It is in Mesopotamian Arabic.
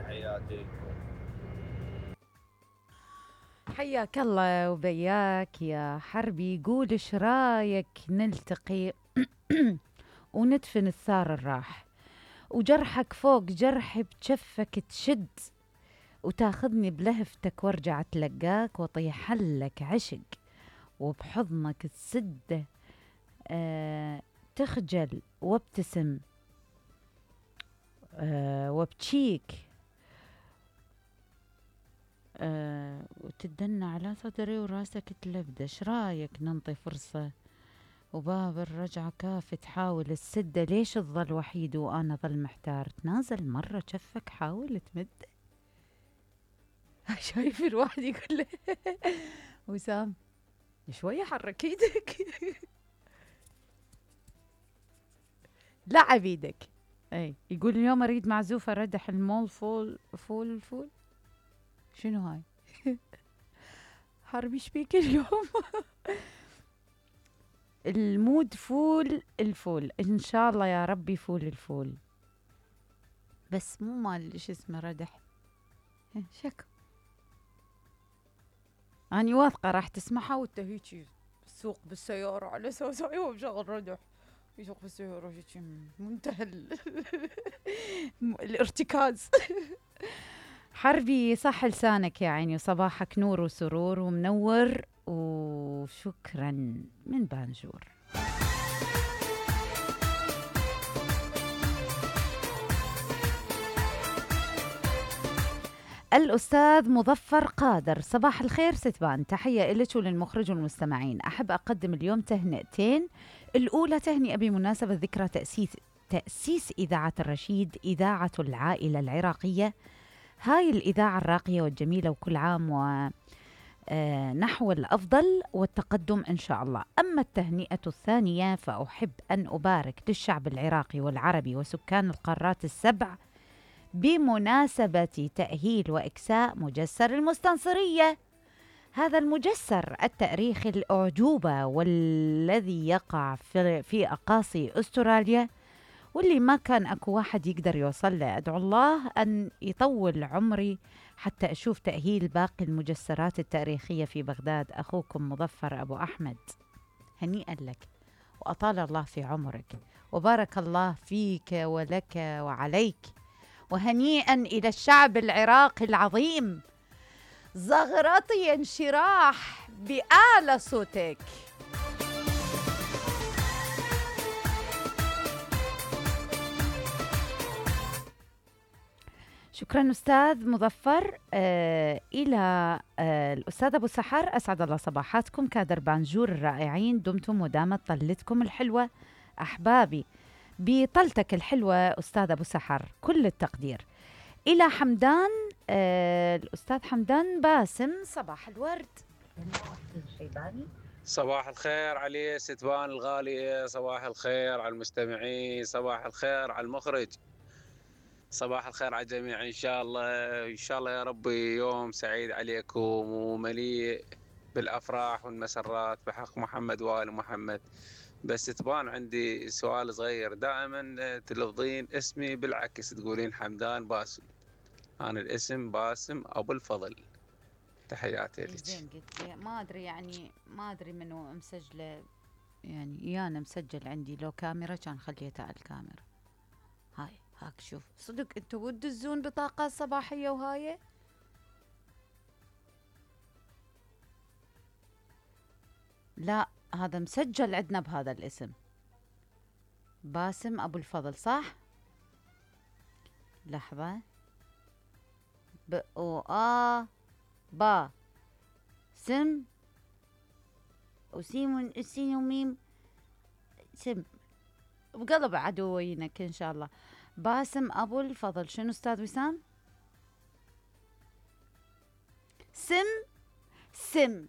تحياتي. حياك الله وبياك يا حربي. يقول ايش رايك نلتقي وندفن الثار الراح، وجرحك فوق جرحي بجفك تشد، وتاخذني بلهفتك وارجع اتلقاك واطيح لك عشق، وبحضنك تسده تخجل وابتسم وابتشيك وتدنى على صدري وراسك تلبدش. رايك ننطي فرصة وباب الرجعة كافة تحاول السدة، ليش تظل وحيد وأنا ظل محتار؟ تنازل مرة جفك حاول تمد. شايف الواحد يقول له وسام شوية حرك ايدك لعب ايدك. اي يقول اليوم اريد معزوفة ردح المول فول شنو هاي؟ حربي شبيك اليوم؟ المود فول الفول ان شاء الله يا ربي، فول الفول بس مو مال ايش اسمه ردح. شكو اني واثقه راح تسمعها وانت هيجي تسوق بالسياره على اساس ايوه مشغل ردح، يسوق بالسياره هيجي منتهى الارتكاز. حربي صح لسانك يا عيني، وصباحك نور وسرور ومنور، وشكرا من بانجور. الأستاذ مظفر قادر، صباح الخير ستبان، تحية إلك وللمخرج والمستمعين. أحب أقدم اليوم تهنئتين. الأولى تهنئة بمناسبة ذكرى تأسيس إذاعة الرشيد، إذاعة العائلة العراقية. هاي الإذاعة الراقية والجميلة، وكل عام ونحو الأفضل والتقدم إن شاء الله. أما التهنئة الثانية فأحب أن أبارك للشعب العراقي والعربي وسكان القارات السبع بمناسبة تأهيل وإكساء مجسر المستنصرية. هذا المجسر التاريخي الأعجوبة والذي يقع في أقاصي أستراليا، واللي ما كان أكو واحد يقدر يوصل له. أدعو الله أن يطول عمري حتى أشوف تأهيل باقي المجسرات التاريخية في بغداد. أخوكم مظفر أبو أحمد، هنيئا لك وأطال الله في عمرك وبارك الله فيك ولك وعليك. وهنيئا إلى الشعب العراقي العظيم، زغرطي انشراح بأعلى صوتك. شكرا أستاذ مظفر. إلى الأستاذ أبو سحر، أسعد الله صباحاتكم كادر بانجور الرائعين، دمتم ودامت طلتكم الحلوة أحبابي. بطلتك الحلوة أستاذ أبو سحر كل التقدير. إلى حمدان الأستاذ حمدان باسم، صباح الورد. صباح الخير علي ستبان الغالية، صباح الخير على المستمعين، صباح الخير على المخرج، صباح الخير على الجميع. إن شاء الله يا ربي يوم سعيد عليكم ومليء بالأفراح والمسرات بحق محمد وآل محمد. بس تبان عندي سؤال صغير، دائما تلفظين اسمي بالعكس، تقولين حمدان باسم، أنا الاسم باسم أبو الفضل. تحياتي لك. زين قلت ما أدري، يعني ما أدري منو مسجله، يعني أنا مسجل عندي لو كاميرا كان خليتها على الكاميرا. هاك شوف، صدق انتوا تدزون بطاقة صباحية وهاي؟ لا هذا مسجل عندنا بهذا الاسم، باسم أبو الفضل صح؟ لحظة، با سم وسين وسين وميم سم بقلب عدوينك إن شاء الله. باسم أبو الفضل. شنو أستاذ وسام؟ سم